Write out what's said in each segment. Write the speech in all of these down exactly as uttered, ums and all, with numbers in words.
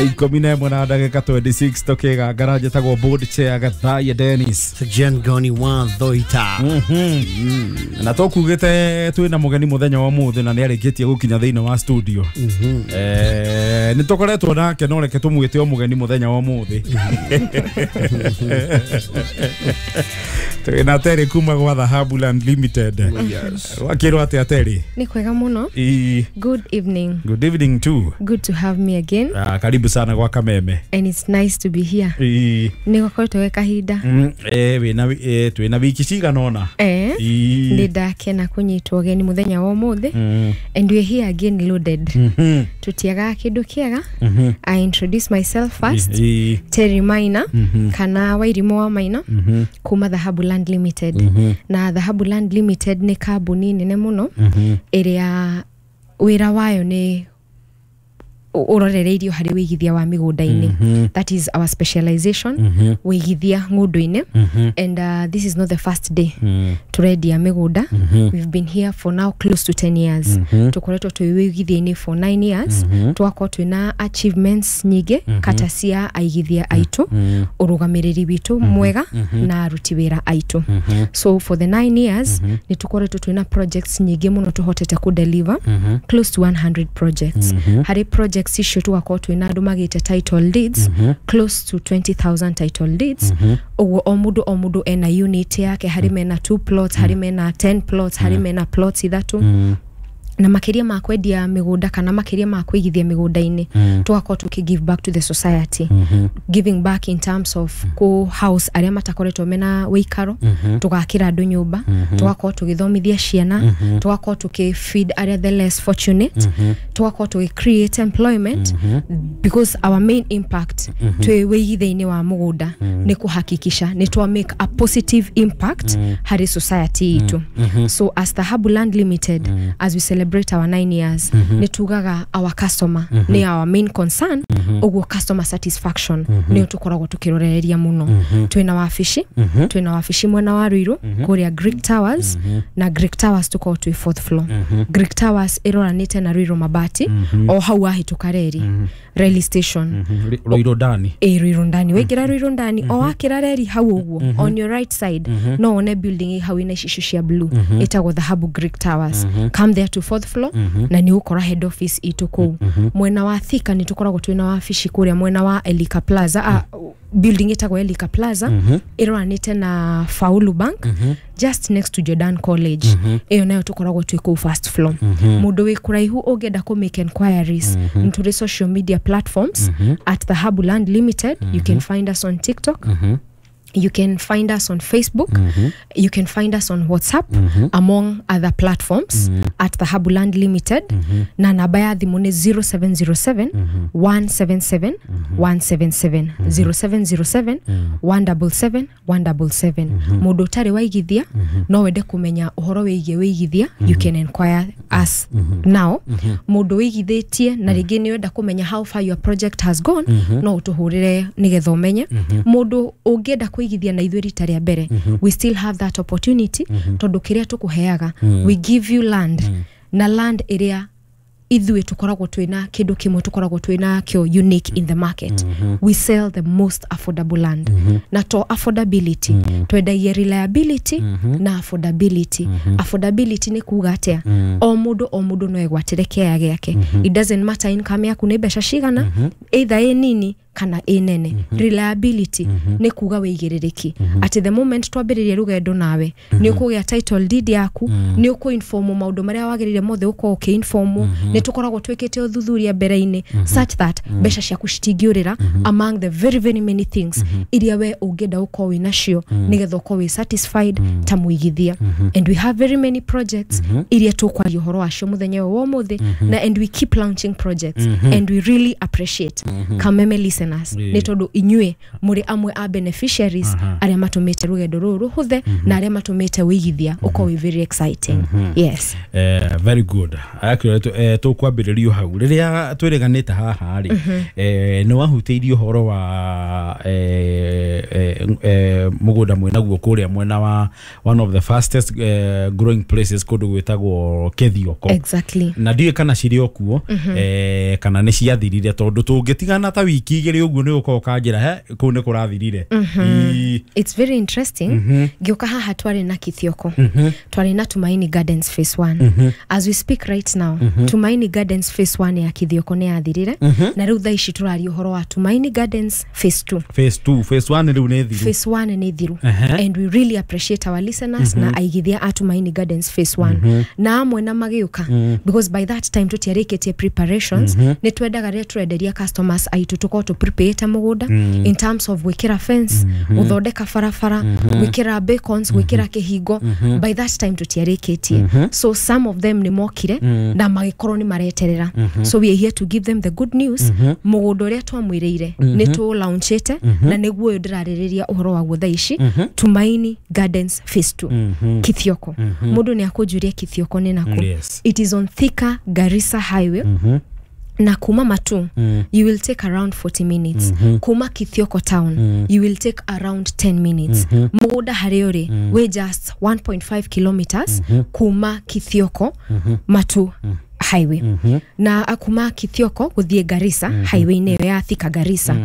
Ikũmi na ĩmwe na ndagĩka mĩrongo ĩĩrĩ na ithathatũ tũkĩgangara. Njĩtagwo board chair Gathaiya Dennis. Jen Goni wa Thoita. Na tũkugĩte twĩna mũgeni mũthenya wa ũmũthĩ na nĩ arĩkĩtie gũkinya thĩinĩ wa studio. Eh, nĩ tũkoretwo nake, no reke tũmwĩte o mũgeni mũthenya wa ũmũthĩ. Twĩna Terry kuma gwa Dhahabu Land Limited. Yes. Wakĩrwo atĩa, Terry? Ni kwega muno. Ii. Good evening. Good evening too. Good to have me again. Ah, karibu sana gwa Kameme. And it's nice to be here. Ii. Nĩ gũkoretwo gwĩ kahinda. Mm, eh, wĩna eh, twĩna wiki cigana ũna. Eh, Ii. nĩ ndakena kũnyitwo ũgeni mũthenya wa ũmũthĩ. Mm. And we're here again loaded. Mhm. Tutiagaga kĩndũ kĩega. Mhm. I introduce myself first. Ii. Terry Maina Mhm. kana Wairimũ wa Maina Mhm. kuma Dhahabu Land Limited. Mhm. Na Dhahabu Land Limited nĩ kambuni nene mũno Mhm. ĩrĩa wĩra wayo nĩ ũrorereirio harĩ wĩigithia wa mĩgũnda-inĩ. Mhm. That is our specialization, Mhm. wĩigithia ng'ũndũ-inĩ. Mhm. And uh, this is not the first day Mm. turendia mĩgũnda. Mhm. We've been here for now close to ten years. Mhm. Tũkoretwo twĩ wĩigithia-inĩ for nine years. Mhm. Tũgakorwo twĩna achievements nyingĩ kata cia aigithia aitũ, Mm. ũrũgamĩrĩri witũ mwega na aruti wĩra aitũ. Mhm. So for the nine years nĩ tũkoretwo twĩna projects nyingĩ mũno tũhotete kũdeliver, Mhm. close to one hundred projects. Mhm. Harĩ projects icio tũgakorwo twĩna andũ magĩte title deeds, Mhm. close to twenty thousand title deeds. Mhm. Ũguo o mũndũ o mũndũ ena unit yake, harĩ mena two plots, harĩ mena ten plots, harĩ mena plots ithatũ. Mm. Na makĩria ma kwendia mĩgũnda kana makĩria ma kũigithia mĩgũnda-inĩ, Mm. tũgakorwo tũkĩ give back to the society. Mhm. Giving back in terms of kũ house arĩa matakoretwo mena wĩikaro, Mhm. tũgakĩra andũ nyũmba, tũgakorwo tũgĩthomithia ciana, tũgakorwo tũkĩ feed arĩa the less fortunate, tũgakorwo tũgĩ create employment, because our main impact twĩ wĩigithia-inĩ wa mũgũnda nĩ kũhakikisha nĩ twa make a positive impact harĩ society itũ. So as Dhahabu Land Limited, as we celebrate our nine years, nĩ tugaga our customer nĩ our main concern. Ũguo customer satisfaction nĩyo tũkoragwo tũkĩrorereria mũno. Twĩna wabici twĩna wabici mwena wa Ruiru kũrĩa Greek Towers, na Greek Towers tũkoragwo twĩ fourth floor. Greek Towers ĩroranĩte na Ruiru Mabati, o hau wahĩtũka reri rail station. Mhm. Ruiru ndani. Ĩ, Ruiru ndani. Waingĩra Ruiru ndani, o wakĩra reri hau ũguo, on your right side no wone building ĩ hau ĩna icicio cia blue ĩtagwo Dhahabu Greek Towers. Come there to fourth floor na nĩ ũgũkora head office itũ kũu. Mwena wa Thika nĩ tũkoragwo twĩna wabici kũrĩa mwena wa Elika Plaza, ah, building ĩtagwo Elika Plaza, ĩroranĩte na Faulu Bank, just next to Jordan College. Ĩyo nayo tũkoragwo twĩ kũu first floor. Mũndũ wĩ kũraihu ũngĩenda kũ make enquiries, nĩ tũrĩ social media platforms at Dhahabu Land Limited. You can find us on TikTok, you can find us on Facebook, you can find us on WhatsApp, among other platforms, at Dhahabu Land Limited. Na namba ya thimũ nĩ zero seven zero seven one seven seven one seven seven, zero seven zero seven one seven seven one seven seven. Mũndũ ũtarĩ waigithia no wende kũmenya ũhoro wĩgiĩ wĩigithia, you can inquire us now. Mũndũ wĩigithĩtie na rĩngĩ nĩ wenda kũmenya how far your project has gone, no ũtũhũrĩre nĩgetha ũmenye. Mũndũ ũngĩenda kũigithia na ithuĩ rita rĩa mbere, we still have that opportunity, tondũ kĩrĩa tũkũheaga, we give you land, na land ĩrĩa ithuĩ tũkoragwo twĩna kĩndũ kĩmwe tũkoragwo twĩna kĩo unique in the market: we sell the most affordable land. Na to affordability, twendagia reliability na affordability. Affordability nĩ kuga atĩa? O mũndũ o mũndũ no egwatĩre kĩaya gĩake. It doesn't matter income yaku nĩ mbeca cigana, either ĩ nini kana ĩ nene. Reliability nĩ kuga wĩigĩrĩrĩki atĩ the moment twambĩrĩria rũgendo nawe, nĩ ũkũgĩa title deed yaku, nĩ ũkũ-informwo maũndũ marĩa wagĩrĩire mothe ũkorwo ũkĩ-informwo. Nĩ tũkoragwo twĩkĩte ũthuthuria mbere-inĩ such that mbeca ciaku citingĩũrĩra, among the very very many things iria we ũngĩenda ũkorwo wĩ nacio nĩgetha ũkorwo wĩ satisfied ta mũigithia. And we have very many projects iria tũkwaria ũhoro wacio mũthenya ũyũ wa ũmũthĩ, na and we keep launching projects, and we really appreciate Kameme listeners. listeners Ĩĩ. nĩ tondũ inyuĩ mũrĩ amwe a beneficiaries Aha. arĩa matũmĩte rũgendo rũrũ rũhũthe na arĩa matũmĩte wĩigithia ũkorwo wĩ very exciting. Yes. Eh, very good. Actually, eh, tũkwambĩrĩrio hau rĩrĩa twĩrĩganĩte haha rĩ, eh, nĩ wahutĩirie ũhoro wa eh, eh, eh, mũgũnda mwĩnaguo kũrĩa mwena wa one of the fastest eh, growing places, kũndũ gwĩtagwo Kĩthioko. Exactly. Na ndiũĩ kana cirĩ o kuo, eh, kana nĩ ciathirire, tondũ tũngĩtigana ta wiki igĩrĩ ũguo nĩ ũkorwo ũkanjĩra he kũu nĩ kũrathirire. Ii. It's very interesting. Ngĩũka haha twarĩ na Kithioko, twarĩ na Tumaini Gardens phase one. As we speak right now, Tumaini Gardens phase one ya Kithioko nĩ yathirire, na rĩu thaa ici tũraria ũhoro wa Tumaini Gardens phase two. Phase two, phase one rĩu nĩ thiru. Phase one nĩ thiru. Ehe. And we really appreciate our listeners na aigithia a Tumaini Gardens phase one na amwe na magĩũka, because by that time tũtiarĩkĩtie preparations. Nĩ twendaga rĩrĩa tũrenderia customers aitũ tũkorwo tũ-prepare mũgũnda in terms of gwĩkĩra fence, gũthondeka barabara, gwĩkĩra beacons, gwĩkĩra kĩhingo. By that time tũtiarĩkĩtie, so some of them nĩ mokire na magĩkorwo nĩ mareterera. So we are here to give them the good news. Mũgũnda ũrĩa twamwĩrĩire nĩ tũ-launchĩte, na nĩguo ũyũ ndĩrarĩrĩria ũhoro waguo thaa ici, Tumaini Gardens phase two, Kithioko. Mũndũ nĩ akũnjũria Kithioko nĩ nakũ. Yes. It is on Thika Garissa Highway, na kuma Matu you will take around forty minutes. Kuma Kithioko town you will take around ten minutes. Mũgũnda harĩa ũrĩ wĩ just one point five kilometers kuma Kithioko Matu Highway, na kuma Kithioko gũthiĩ Garissa highway-inĩ ĩyo ya Thika Garissa.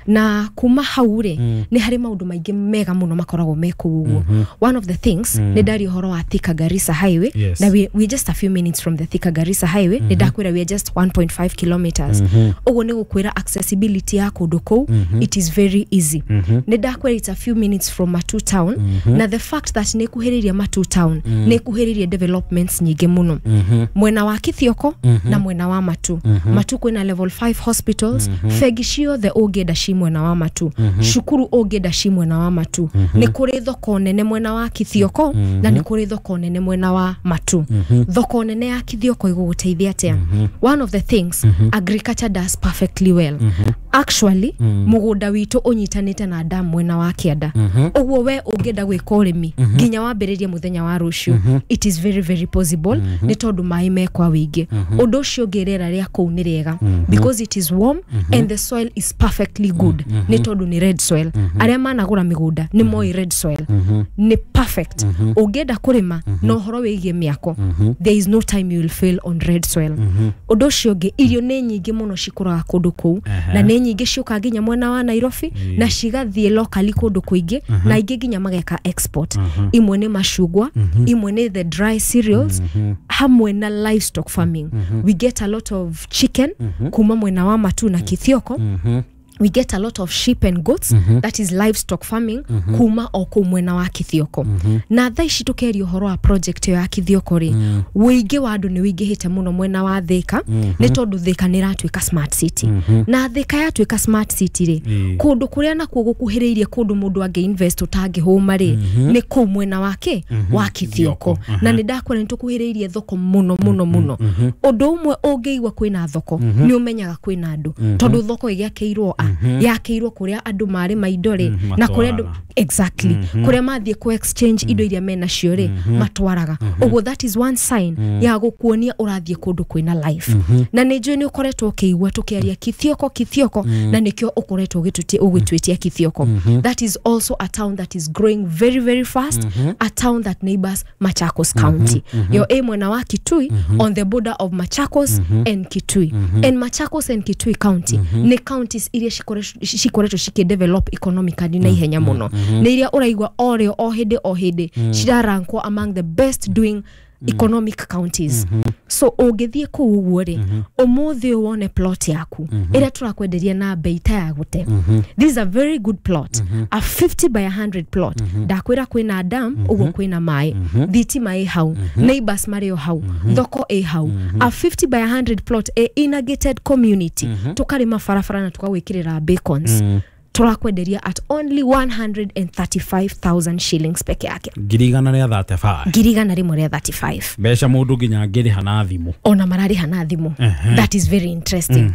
Na kuma hau rĩ, nĩ harĩ maũndũ maingĩ mega mũno makoragwo me kũu ũguo. One of the things, nĩ ndaria ũhoro wa Thika Garissa Highway, Yes. na we, we just a few minutes from the Thika Garissa Highway. Nĩ ndakwĩra we are just one point five kilometers. Ũguo nĩ gũkwĩra accessibility ya kũndũ kũu, it is very easy. Nĩ ndakwĩra it's a few minutes from Matu town, na the fact that nĩ kuhĩrĩirie Matu town nĩ kuhĩrĩirie developments nyingĩ mũno mwena wa Kithioko na mwena wa Matu. Matu kwĩna level five hospitals, bengi ciothe ũngĩenda ci mwena wa Matu, cukuru ũngĩenda ci mwena wa Matu. Nĩ kũrĩ thoko nene mwena wa Kithioko na nĩ kũrĩ thoko nene mwena wa Matu. Thoko nene ya Kithioko ĩgũgũteithia atĩa? One of the things, agriculture does perfectly well. Actually, mũgũnda witũ ũnyitanĩte na dam mwena wa kĩanda, ũguo we ũngĩenda gwĩka ũrĩmi nginya wambĩrĩrie mũthenya wa rũciũ, it is very very possible, nĩ tondũ maĩ me kwa wĩingĩ. Ũndũ ũcio ũngĩ, rĩera rĩa kũu nĩ rĩega because it is warm and the soil is perfectly good, nĩ tondũ nĩ red soil. Arĩa managũra mĩgũnda nĩ moĩ red soil nĩ perfect ũngĩenda kũrĩma. Na ũhoro wĩgiĩ mĩako, there is no time you will fail on red soil. Ũndũ ũcio ũngĩ, irio nĩ nyingĩ mũno cikũraga kũndũ kũu, na nĩ nyingĩ ciũkaga nginya mwena wa Nairobi na cigathiĩ locally kũndũ kũingĩ, na ingĩ nginya mageka export. Imwe nĩ macungwa, imwe nĩ the dry cereals, hamwe na livestock farming. We get a lot of chicken kuma mwena wa Matu na Kithioko. We get a lot of sheep and goats, that is livestock farming, kuma o kũu mwena wa Kithioko. Na thaa ici tũkeria ũhoro wa project ĩyo ya Kithioko rĩ, ũingĩ wa andũ nĩ ũingĩhĩte mũno mwena wa Thika, nĩ tondũ Thika nĩ ĩratuĩka smart city. Na Thika yatuĩka smart city rĩ, Ĩĩ. kũndũ kũrĩa nakuo gũkuhĩrĩirie kũndũ mũndũ angĩ invest ũtangĩhũma rĩ, nĩ kũu mwena wake wa Kithioko. Na nĩ ndakwĩra nĩ tũkuhĩrĩirie thoko mũno mũno mũno. Ũndũ ũmwe, ũngĩigua kwĩna thoko nĩ ũmenyaga kwĩna andũ, tondũ thoko ĩgĩakĩirwo a yakĩirwo kũrĩa andũ marĩma indo rĩ, na kũrĩa andũ matwaraga. Exactly, kũrĩa mathiĩ ku exchange indo iria menacio rĩ, matwaraga. Ũguo that is one sign ya gũkuonia ũrathiĩ kũndũ kwĩna life. Na nĩ njũĩ nĩ ũkoretwo ũkĩigua tũkĩaria Kithioko, Kithioko, na nĩkĩo ũkoretwo ũgĩtũtie- ũgĩtwĩtia Kithioko. That is also a town that is growing very very fast, a town that neighbors Machakos County. Yo ĩ mwena wa Kitui, on the border of Machakos and Kitui. And Machakos and Kitui County nĩ counties iria cikore- cikoretwo cikĩdevelop economically na ihenya mũno, nĩ iria ũraigua o rĩo o hĩndĩ o hĩndĩ cirarankwo among the best doing economic counties. So ũngĩthiĩ kũu ũguo rĩ, ũmũthĩ ũyũ wone plot yaku ĩrĩa tũrakwenderia na bei ta ya gũte. This is a very good plot, a fifty by one hundred plot. Ndakwĩra kwĩna dam, ũguo kwĩna maĩ, thitima ĩ hau, neighbors marĩ o hau, thoko ĩ hau. A fifty by one hundred plot ĩ in a gated community, tũkarĩma barabara na tũkagwĩkĩrĩra beacons, tũrakwenderia at only one hundred thirty-five thousand shillings peke yake. Ngiri igana rĩa thirty-five. Ngiri igana rĩmwe rĩa thirty-five. Mbeca mũndũ nginya angĩrĩha na thimũ. Ona mararĩha na thimũ. That is very interesting.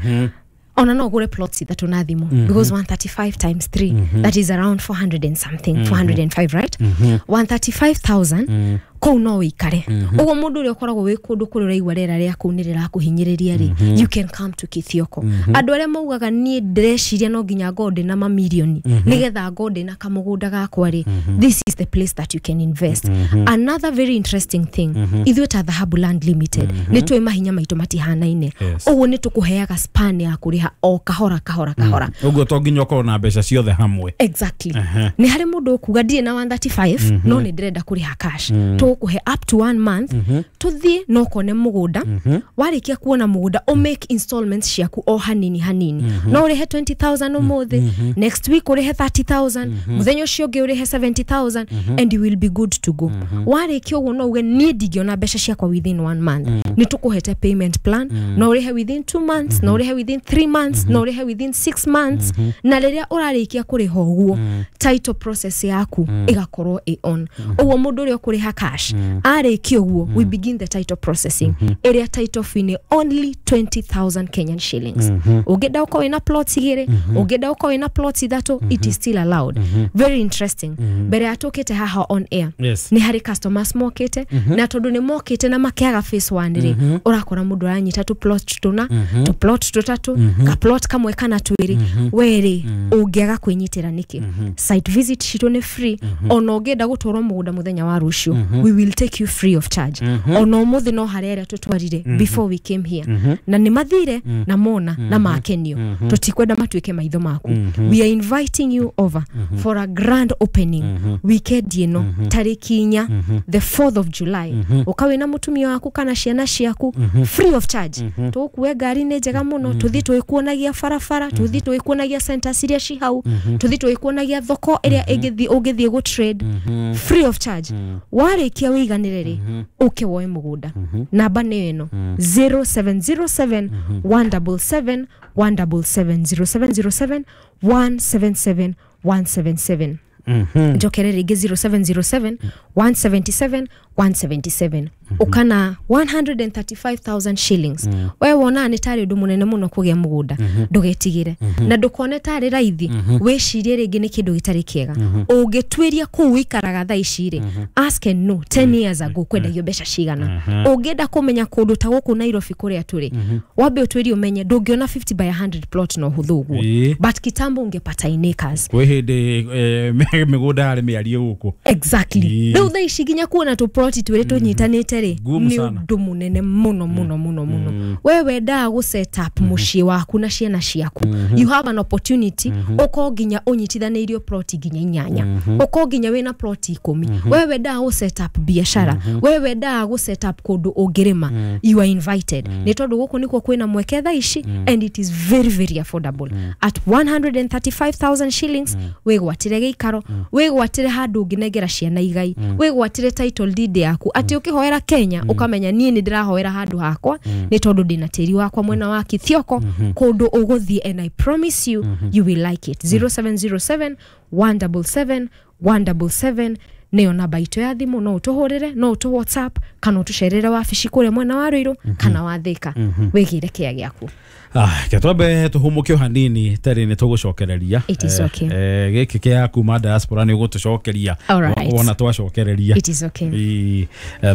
Ona no ũgũre plots ithatũ na thimũ, because one thirty-five times three, that is around four hundred and something, four hundred and five, right? one thirty-five thousand kũu no wĩikare. Ũguo mũndũ ũrĩa ũkoragwo wĩ kũndũ kũrĩa ũraigua rĩera rĩa kũu nĩ rĩrakũhinyĩrĩria rĩ, you can come to Kithioko. Andũ arĩa maugaga niĩ ndĩreciria no nginya ngorwo ndĩ na mamirioni nĩgetha ngorwo ndĩ na kamũgũnda gakwa rĩ, this is the place that you can invest. Another very interesting thing, ithuĩ ta Dhahabu Land Limited nĩ tũĩ mahinya maitũ matihanaine. Ũguo nĩ tũkũheaga span ya kũrĩha o kahora kahora kahora. Ũguo to nginya ũkorwo na mbeca ciothe hamwe. Exactly. Nĩ harĩ mũndũ ũkuga ndirĩ na one thirty-five no nĩ ndĩrenda kũrĩha cash. Tũgũkũhe up to one month tũthiĩ no ũkone mũgũnda. Warĩkia kuona mũgũnda o make installments ciaku o hanini hanini. No ũrĩhe twenty thousand ũmũthĩ, next week ũrĩhe thirty thousand, mũthenya ũcio ũngĩ ũrĩhe seventy thousand, and you will be good to go. Warĩkia ũguo no uge niĩ ndingĩona mbeca ciakwa within one month. Nĩ tũkũhete payment plan, no ũrĩhe within two months, no ũrĩhe within three months, no ũrĩhe within six months. Na rĩrĩa ũrarĩkia kũrĩha ũguo, title process yaku ĩgakorwo ĩ on. Ũguo mũndũ ũrĩa ũkũrĩha cash arĩkia ũguo, we begin the title processing. Ĩrĩa title fee nĩ only twenty thousand Kenyan shillings. Ũngĩenda ũkorwo wĩna plots igĩrĩ, ũngĩenda ũkorwo wĩna plots ithatũ, it is still allowed. Very interesting. Mbere ya tũkĩte haha on air, nĩ harĩ customers mokĩte, na tondũ nĩ mokĩte na makĩaga phase one rĩ, ũrakora mũndũ aranyita tũ plot tũna, tũ plot tũtatũ, ka plot kamwe kana twĩrĩ. We rĩ, ũngĩaga kwĩnyitĩra nĩkĩ? Site visit citũ nĩ free. Ona ũngĩenda gũtwarwo mũgũnda mũthenya wa rũciũ, we will take you free of charge. Ona ũmũthĩ no harĩa arĩa tũtwarire before we came here. Na nĩ mathire na mona na makenio. Tũtikwenda matuĩke maitho maku. We are inviting you over for a grand opening weekend ĩno tarĩki inya, the fourth of July. Ũka wĩna mũtumia waku kana ciana ciaku free of charge. Tũgũkue ngari nĩ njega mũno, tũthiĩ tũgĩkuonagia barabara, tũthiĩ tũgĩkuonagia centers iria ci hau, tũthiĩ tũgĩkuonagia thoko ĩrĩa ĩngĩthiĩ ũngĩthiĩ gũ trade free of charge. Warĩkia wĩiganĩre rĩ, ũke woe mũgũnda. Namba nĩ ĩno zero seven zero seven one double seven one double seven, zero seven zero seven one seven seven one seven seven. Njokere rĩngĩ zero seven zero seven one seventy-seven one seventy-seven. Ũkana one hundred thirty-five thousand shillings. We wona nĩ tarĩ ũndũ mũnene mũno kũgĩa mũgũnda, ndũgetigĩre na ndũkone tarĩ raithi, wĩcirie rĩngĩ nĩ kĩndũ gĩtarĩ kĩega. Ũngĩtuĩria kũu wĩikaraga thaa ici rĩ, ask and know ten years ago kwendagio mbeca cigana. Ũngĩenda kũmenya kũndũ ta gũkũ Nairobi kũrĩa tũrĩ, wambe ũtuĩrie ũmenye ndũngĩona fifty by a hundred plot na ũhũthũ ũguo, but kitambo ũngĩpata in acres. Kwĩ hĩndĩ mĩgũnda yarĩ mĩarie gũkũ. Exactly. Rĩu thaa ici nginya kuona tũ plot twĩrĩ tũnyitanĩte rĩ, nĩ ũndũ mũnene mũno mũno mũno mũno. We wendaga gũ set up mũciĩ waku na ciana ciaku, you have an opportunity. Ũkorwo nginya ũnyitithanĩirio plot nginya inyanya, ũkorwo nginya wĩna plot ikũmi. We wendaga gũ set up biashara, we wendaga gũ set up kũndũ ũngĩrĩma, you are invited. Nĩ tondũ gũkũ nĩkuo kwĩna mweke thaa ici, and it is very very affordable at one hundred thirty-five thousand shillings. Wĩgwatĩre gĩikaro, wĩgwatĩre handũ ũngĩnengera ciana igai, wĩgwatĩre title deed yaku, atĩ ũkĩhoera Kenya ũkamenya niĩ nĩ ndĩrahoera handũ hakwa nĩ tondũ ndĩna tĩri wakwa mwena wa Kithioko, kũndũ ũgũthiĩ, and I promise you you will like it. zero seven zero seven one double seven one double seven nĩyo namba itũ ya thimũ. No ũtũhũrĩre, no ũtũ WhatsApp, kana ũtũcerere wabici kũrĩa mwena wa Ruiru kana wa Thika, wĩgĩre kĩa gĩaku. Ah, ke twambe tũhũmũke o hanini terĩ nĩ tũgũcokereria. It is okay. Eh, gĩkĩ kĩa kuma diaspora nĩ ũgũtũcokeria wona twacokereria. It is okay.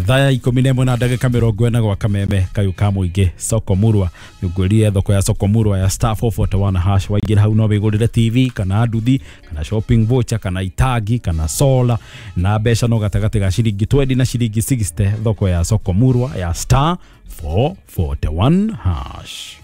Thaa ikũmi na ĩmwe na ndagĩka mĩrongo ĩna gwa kameme kayũ ka mũingĩ Soko Murwa. Nĩngwĩrire thoko ya Soko Murwa ya star four forty-one hash. Waingĩra hau no wĩgũrĩre T V kana nduthi kana shopping voucher kana itangi kana solar na mbeca no gatagatĩ ga ciringi twenty na ciringi sixty. Thoko ya Soko Murwa ya star four forty-one hash.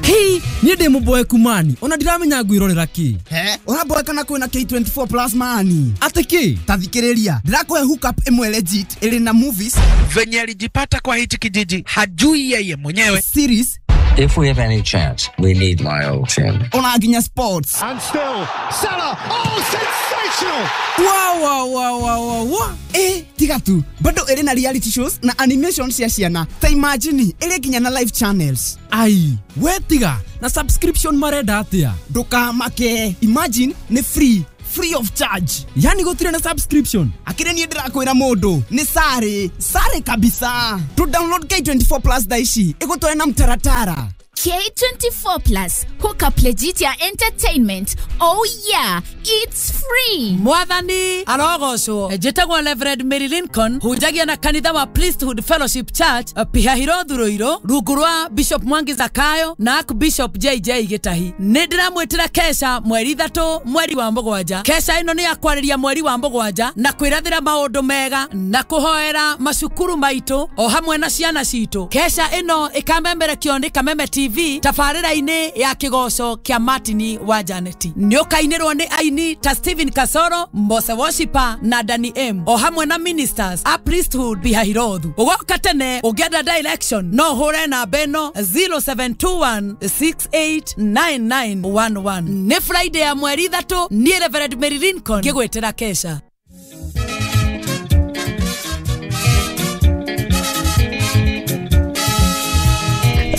Hey, niĩ ndĩ mũboeku mani ona ndiramenya ngwĩrorera kĩ. He, ũraboeka na kwĩna K twenty-four plus mani. Atĩ kĩ? Ta thikĩrĩria, ndĩrakũhe hookup ĩmwe legit ĩrĩ na movies. Venye alijipata kwa hichi kijiji hajui yeye mwenyewe. Series. If we have any chance, we need my old team. Ona nginya sports. And still, Salah, oh, sensational! Wow, wow, wow, wow, wow, wow. Eh, tiga tu. Bado ĩrĩ na reality shows na animation cia ciana. Ta imagine, ĩrĩ nginya na live channels. Ai, we tiga, na subscription marenda atia? Ndũkamake. Imagine, nĩ free. free of charge. Yani gũtirĩ na subscription. Akĩrĩ niĩ ndĩrakwĩra mũndũ nĩ sare sare kabisa. To download K twenty-four Plus thaa ici ĩgũtware na mtaratara. K twenty-four Plus, hook up legit ya entertainment. Oh yeah, it's free. Mwathani arogocwo. Njĩtagwo Reverend Mary Lincoln, hunjagia na kanitha wa Priesthood Fellowship Church, Pihahiro Thuruiro, rungu rwa Bishop Mwangi Zakayo na Archbishop J J Gitahi. Nĩ ndĩramwĩtĩra kesha mweri ithatũ mweri wa mũgwanja. Kesha ĩno nĩ ya kwarĩria mweri wa mũgwanja na kwĩrathĩra maũndũ mega na kũhoera macukuru maitũ o hamwe na ciana citũ. Kesha ĩno ĩkamemerekio nĩ Kameme T V tabarĩra-inĩ ya kĩgoco kĩa Martini wa Janeti. Nĩũkainĩrwo nĩ aini ta Stephen Kasoro, Mose Worshiper na Danny M o hamwe na ministers a Priesthood Bihahirothu. Ũgoka tene ũngĩenda direction no ũhũre namba ĩno zero seven two one six eight nine nine one one. Nĩ Friday ya mweri ithatũ, niĩ Reverend Mary Lincoln ngĩgwĩtĩra kesha.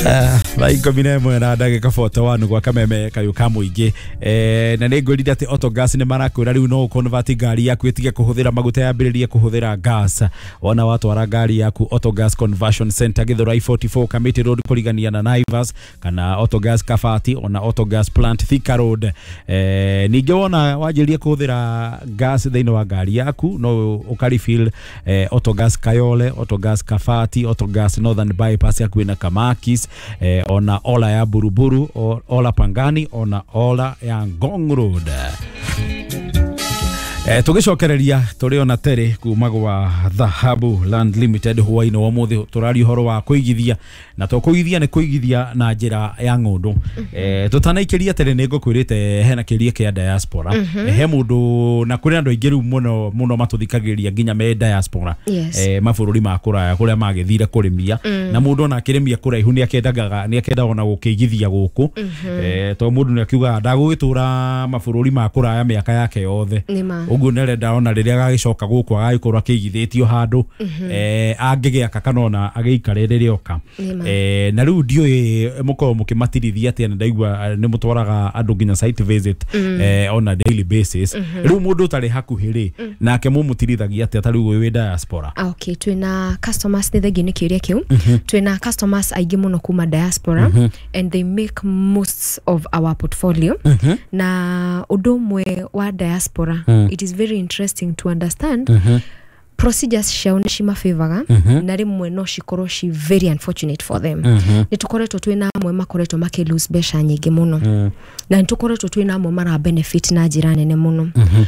Thaa ikũmi na ĩmwe na ndagĩka forty-one gwa Kameme kayũ ka mũingĩ. Eh, na nĩ ngwĩrire atĩ Autogas nĩ marakwĩra rĩu no ũconvert ngari yaku ĩtige kũhũthĩra maguta yambĩrĩrie kũhũthĩra gas. Wona watwara ngari yaku Autogas Conversion Center Githurai forty-four Kamiti Road kũrigania na Naivas kana Autogas Kabati ona Autogas Plant Thika Road. Eh, ningĩ wona wanjĩrĩria kũhũthĩra gas thĩinĩ wa ngari yaku no ũkarefill eh, Autogas Kayole, Autogas Kabati, Autogas Northern Bypass hakuhĩ na Kamakis, eh, ona Ola ya Buruburu, Ola Pangani, ona Ola ya Ngong Road. Eh, tugicokereria turi ona tere kuma gwa Dhahabu Land Limited hwainĩ wa ũmũthĩ tũraria ũhoro wa kũigithia na to kũigithia nĩ kũigithia na njĩra ya ng'ũndũ. Eh, tũtanaikĩria tere nĩ ngũkwĩrĩte hena kĩria kĩa diaspora. Mm -hmm. He mũndũ na kũrĩ andũ aingĩ rĩu mũno mũno matũthikagĩrĩria nginya me diaspora. Yes. Eh, mabũrũri ma kũraya kũrĩa magĩthire kũrĩmia. Mm. Na mũndũ ona akĩrĩmia kũraihu nĩ akendaga nĩ akenda ona gũkĩigithia gũkũ. Mm -hmm. Eh, to mũndũ nĩ akiugaga ndagũgĩtũra mabũrũri ma kũraya mĩaka yake yothe. Ũguo nĩarenda ona rĩrĩa agagĩcoka gũkũ agagĩkorwo akĩigithĩtio handũ eh angĩgĩaka kana ona agĩikare rĩrĩa oka. Eh, na rĩu ndiũĩ mũkorwo mũkĩmatirithia atĩa na ndaigua nĩ mũtwaraga andũ nginya site visit eh on a daily basis. Rĩu mũndũ ũtarĩ hakuhĩ rĩ nake mũmũtirithagia atĩa ta rĩu wĩ diaspora? Ah, okay, twĩna customers nĩ thengiũ nĩ kĩũria kĩu. Twĩna customers aingĩ mũno kuma diaspora and they make most of our portfolio. Na ũndũ ũmwe wa diaspora, it is very interesting to understand. Mm -hmm. Procedures ciao nĩ cimafavoraga mm -hmm. na rĩmwe no cikorwo ci very unfortunate for them. Mm -hmm. Nĩ tũkoretwo twĩna amwe makoretwo makĩ lose mbeca nyingĩ mũno. Mm -hmm. Na nĩ tũkoretwo twĩna amwe mara benefit na njĩra nene mũno. Mm -hmm.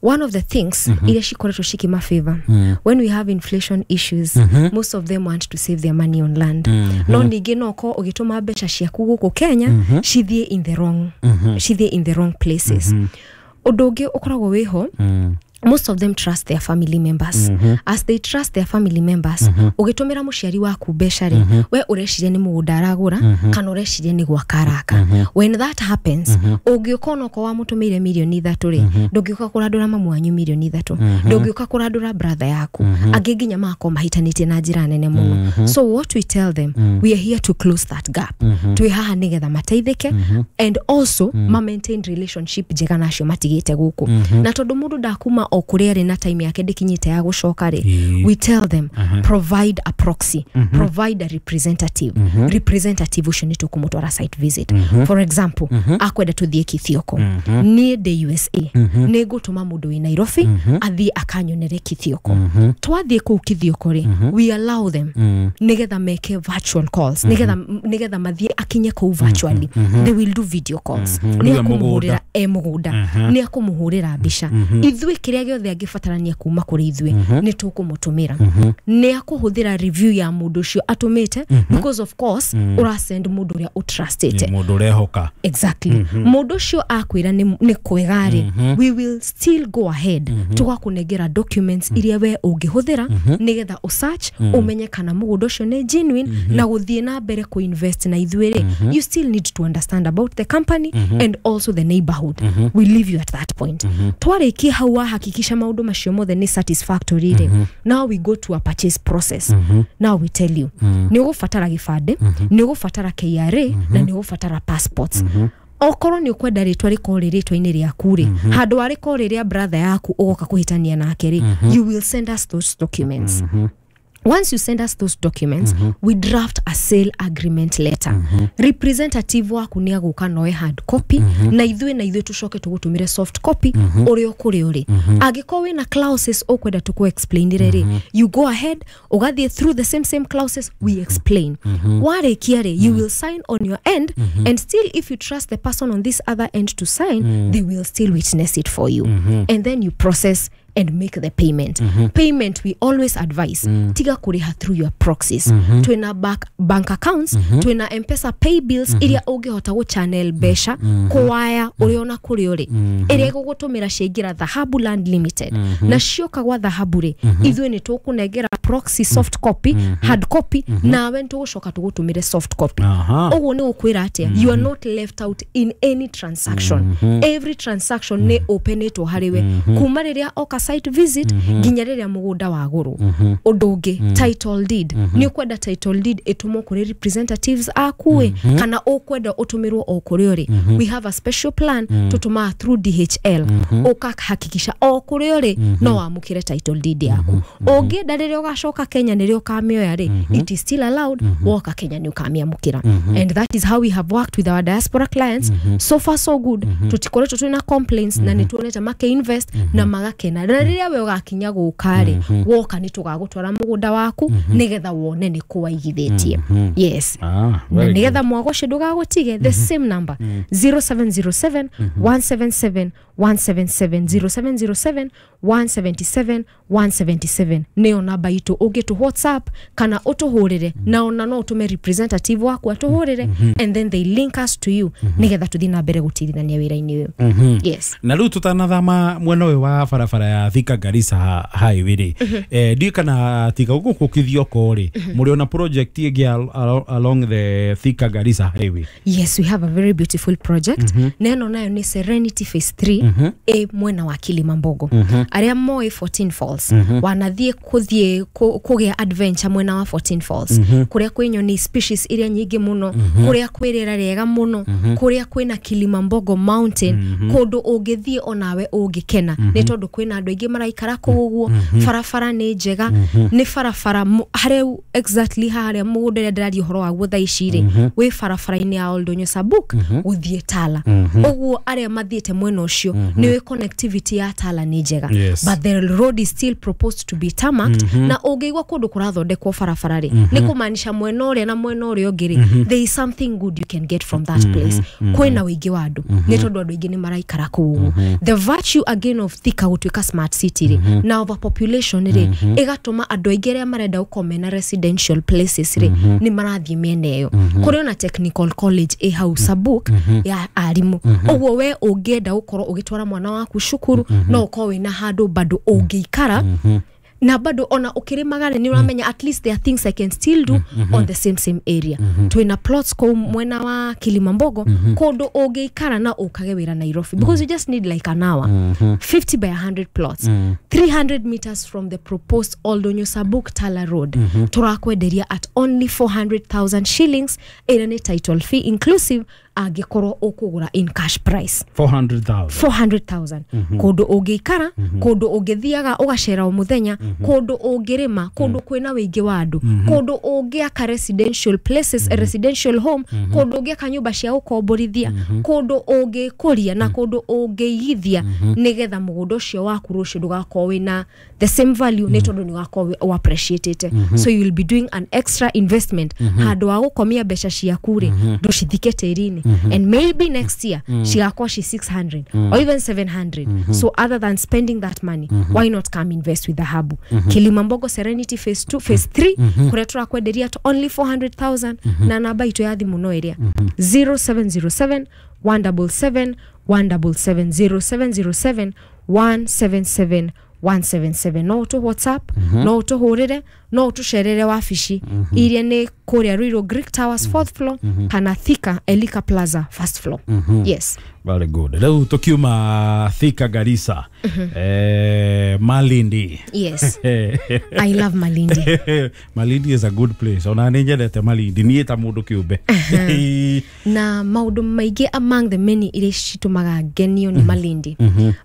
One of the things mm -hmm. iria cikoretwo cikimafavor mm -hmm. when we have inflation issues, mm -hmm. most of them want to save their money on land. Mm -hmm. No ningĩ no ko ũgĩtũma mbeca ciaku gũkũ Kenya mm -hmm. cithiĩ in the wrong mm -hmm. cithiĩ in the wrong places. Mm -hmm. Ũndũ ũngĩ ũkoragwo wĩho, mm. most of them trust their family members. Mm -hmm. As they trust their family members, mm -hmm. ũgĩtũmĩra mũciari waku mbeca rĩ, mm -hmm. we ũreciria nĩ mũgũnda aragũra, mm -hmm. kana ũreciria nĩ gwaka araka. Mm -hmm. When that happens, mm -hmm. ũngĩũka onokorwo wamũtũmĩire mirioni ithatũ rĩ, mm -hmm. ndũngĩũka kũrandũra mamu wanyu mirioni ithatũ, mm -hmm. ndũngĩũka kũrandũra brother yaku, mm -hmm. angĩ nginya magakorwo mahĩtanĩtie na njĩra nene mũno. Mm -hmm. So what we tell them, mm -hmm. we are here to close that gap. Mm -hmm. Twĩ haha nĩgetha mateithĩke, mm -hmm. and also mm -hmm. ma maintain relationship njega na acio matigĩte gũkũ. Mm -hmm. Na tondũ mũndũ ndakuma o kũrĩa arĩ na time yake ndĩkinyĩte ya gũcoka rĩ, we tell them uh -huh. provide a proxy, mm -hmm. provide a representative. Mm -hmm. Representative ũcio nĩ tũkũmũtwara site visit. Mm -hmm. For example, mm -hmm. akwenda tũthiĩ Kithioko, mm -hmm. niĩ ndĩ U S A, mm -hmm. nĩ ngũtũma mũndũ wĩ Nairobi, mm -hmm. athiĩ akanyonere Kithioko. Mm -hmm. Twathiĩ kũu Kithioko rĩ, mm -hmm. we allow them mm -hmm. nĩgetha meke virtual calls, mm -hmm. nĩgetha nĩgetha mathiĩ akinye kũu virtually. Mm -hmm. They will do video calls. Mm -hmm. Nĩ akũmũhũrĩra e mũgũnda, mm -hmm. nĩ akũmũhũrĩra mbica. Mm -hmm. Ithuĩ kĩrĩa gĩothe angĩbatarania kuma kũrĩ ithuĩ mm -hmm. nĩ tũkũmũtũmĩra. Mm -hmm. Nĩ akũhũthĩra review ya mũndũ ũcio atũmĩte, mm -hmm. because of course mm -hmm. ũrasend mũndũ ũrĩa ũtrustĩte, mũndũ ũrehoka. Exactly. Mm -hmm. Mũndũ ũcio akwĩra nĩ nĩ kwega rĩ, mm -hmm. we will still go ahead, mm -hmm. tũgakũnengera documents mm -hmm. iria we ũngĩhũthĩra, mm -hmm. nĩgetha ũsearch, mm -hmm. ũmenye kana mũgũnda ũcio nĩ genuine, mm -hmm. na gũthiĩ na mbere kũ-invest na ithuĩ rĩ, mm -hmm. you still need to understand about the company, mm -hmm. and also the neighborhood. Mm -hmm. We leave you at that point. Mm -hmm. Twarĩkia hau wahakikisha maũndũ macio mothe nĩ satisfactory rĩ, mm -hmm. now we go to a purchase process. Mm -hmm. Now we tell you, mm -hmm. nĩ ũgũbatara gĩbandĩ, mm -hmm. nĩ ũgũbatara K R A, mm -hmm. na nĩ ũgũbatara passports. Mm -hmm. Okorwo nĩ ũkwenda rĩtwa rĩkorwo rĩ rĩtwa-inĩ rĩaku rĩ, handũ wa rĩkorwo rĩ rĩa brother yaku ũgoka kũhĩtania nake rĩ, you will send us those documents. Once you send us those documents, mm -hmm. we draft a sale agreement letter. Mm -hmm. Representative waku nĩ agũka noe hard copy, mm -hmm. na ithuĩ na ithuĩ tũcoke tũgũtũmĩre soft copy, mm -hmm. ũrĩa ũkũrĩ ũrĩ. Mm -hmm. Angĩkorwo wĩna clauses ũkwenda tũkũ explainire rĩ, mm -hmm. you go ahead ũgathiĩ through the same same clauses we explain. Mm -hmm. Warĩkia rĩ, you will sign on your end, mm -hmm. and still if you trust the person on this other end to sign, mm -hmm. they will still witness it for you. Mm -hmm. And then you process and make the payment. Mm -hmm. Payment we always advise, mm. tiga kuriha through your proxies. Mm -hmm. Twina bank, bank accounts, mm -hmm. twina M-Pesa pay bills, mm -hmm. iria ũngĩhota gũ channel mbeca, mm -hmm. kũwaya ũrĩ ona kũrĩ ũrĩ, mm -hmm. ĩrĩa ĩgũgũtũmĩra ciaingĩra Dhahabu Land Limited. Mm -hmm. Na cioka gwa Dhahabu rĩ, mm -hmm. ithuĩ nĩ tũkũnengera proxy soft copy, mm -hmm. hard copy, mm -hmm. nawe nĩ tũgũcoka tũgũtũmĩre soft copy. Ũguo nĩ gũkwĩra atĩa, mm -hmm. you are not left out in any transaction. Mm -hmm. Every transaction nĩ openĩtwo harĩ we. Mm -hmm. Kuma rĩrĩa oka site visit, nginya rĩrĩa mũgũnda wagũrwo. Ũndũ ũngĩ, title deed. Nĩ ũkwenda title deed ĩtũmwo kũrĩ representatives aku ĩ, kana ũkwenda ũtũmĩrwo o kũrĩ ũrĩ. We have a special plan tũtũmaga through D H L. Ũkahakikisha o kũrĩ ũrĩ no wamũkĩre title deed yaku. Ũngĩenda rĩrĩa ũgacoka Kenya nĩrĩo ũkamĩoya rĩ, it is still allowed. Woka Kenya nĩ ũkamĩamũkĩra. And that is how we have worked with our diaspora clients. So far so good. Tũtikoretwo twĩna complaints na nĩ tuonete makĩ-invest na magakena. Na rĩrĩa we ũgakinya gũka rĩ, woka nĩ tũgagũtwara mũgũnda waku nĩgetha wone nĩ kũ waigithĩtie. Yes. Na nĩgetha mwago ũcio ndũgagũtige, the same number, zero seven zero seven, one seven seven, one seven seven, zero seven zero seven, one seven seven, one seven seven nĩyo namba itũ. Ũngĩtũ WhatsApp kana ũtũhũrĩre, na ona no ũtũme representative waku atũhũrĩre, and then they link us to you nĩgetha tũthiĩ na mbere gũtirithania wĩra-inĩ ũyũ. Yes. Na rĩu tũtanathama mwena ũyũ wa barabara ya Thika Garissa highway rĩ, eh ndiũ kana tiga gũkũ Kithioko rĩ, mũrĩ ona project ĩngĩ along the Thika Garissa highway? Yes, we have a very beautiful project. Na ĩno nayo nĩ Serenity Phase three, ĩ mwena wa Kilimambogo. Arĩa moĩ fourteen Falls, wanathiĩ kũthiĩ kũgĩa adventure mwena wa fourteen Falls, kũrĩa kwĩ nyoni species iria nyingĩ mũno, kũrĩa kwĩ rĩera rĩega mũno, kũrĩa kwĩna Kilimambogo Mountain, kũndũ ũngĩthiĩ onawe ũngĩkena, nĩ tondũ kwĩna andũ aingĩ maraikara kũu ũguo, barabara nĩ njega, nĩ barabara harĩa exactly harĩa mũgũnda ũrĩa ndĩraria ũhoro waguo thaa ici rĩ, wĩ barabara-inĩ ya Oldonyo Sabuk gũthiĩ Tala. Ũguo arĩa mathiĩte mwena ũcio nĩ wĩ connectivity ya Tala nĩ njega. But the road is still proposed to be tarmacked. Na ũngĩigua kũndũ kũrathondekwo barabara rĩ, nĩ kũmaanisha mwena ũrĩa na mwena ũrĩa ũngĩ rĩ, there is something good you can get from that place. Kwĩna ũingĩ wa andũ, nĩ tondũ andũ aingĩ nĩ maraikara kũu ũguo. The virtue again of Thika gũtuĩka smart city rĩ, na overpopulation rĩ, ĩgatũma andũ aingĩ arĩa marenda gũkorwo mena residential places rĩ, nĩ marathiĩ mĩena ĩyo. Kũrĩ ona technical college ĩ hau Sabuk ya arimũ. Ũguo we ũngĩenda gũkorwo ũgĩtwara mwana waku cukuru, no ũkorwo wĩna handũ bado ũngĩikara, na bado ona ũkĩrĩmaga rĩ, nĩ ũramenya at least there are things I can still do on the same same area. Twĩna plots kũu mwena wa Kilimambogo, kũndũ ũngĩikara na ũkage wĩra Nairobi, because you just need like an hour. fifty by a hundred plots, three hundred meters from the proposed Oldonyo Sabuk Tala Road. Tũrakwenderia at only four hundred thousand shillings, ĩrĩa nĩ title fee inclusive, angĩkorwo ũkũgũra in cash price. four hundred thousand. four hundred thousand. Kũndũ ũngĩikara, kũndũ ũngĩthiaga ũgacera o mũthenya, kũndũ ũngĩrĩma, kũndũ kwĩna wĩingĩ wa andũ, kũndũ ũngĩaka residential places, a residential home, kũndũ ũngĩaka nyũmba cia gũkomborithia, kũndũ ũngĩkũria na kũndũ ũngĩigithia, nĩgetha mũgũnda ũcio waku rũciũ ndũgakorwo wĩna the same value, nĩ tondũ nĩ ũgakorwo ũ appreciate. So you will be doing an extra investment. Handũ wa gũkomia mbeca ciaku rĩ, ndũcithike tĩri-inĩ. And maybe next year cigakorwo ci six hundred or even seven hundred. So other than spending that money, why not come invest with Dhahabu? Kilimambogo Serenity Phase two, Phase three, kũrĩa tũrakwenderia at only four hundred thousand, na namba itũ ya thimũ no ĩrĩa zero seven zero seven, one seven seven, one seven seven, zero seven zero seven, one seven seven, one seven seven. No ũtũ WhatsApp, no ũtũhũrĩre, no ũtũcerere wabici iria nĩ kũrĩa Ruiru Greek Towers fourth floor, kana Thika Elika Plaza first floor. Yes. Very good. Rĩu tũkiuma Thika Garissa, eh Eh, Malindi. Yes, I love Malindi. Malindi is a good place. Ona nĩ nyendete Malindi niĩ ta mũndũ kĩũmbe. Na maũndũ maingĩ, among the many iria citũmaga ngenio nĩ Malindi,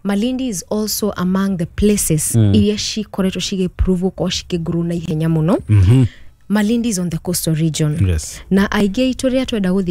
Malindi is also among the places iria cikoretwo cigĩprove gũkorwo cikĩgrow na ihenya mũno. Malindi is on the coastal region Yes. na aingĩ aitũ rĩrĩa twenda gũthiĩ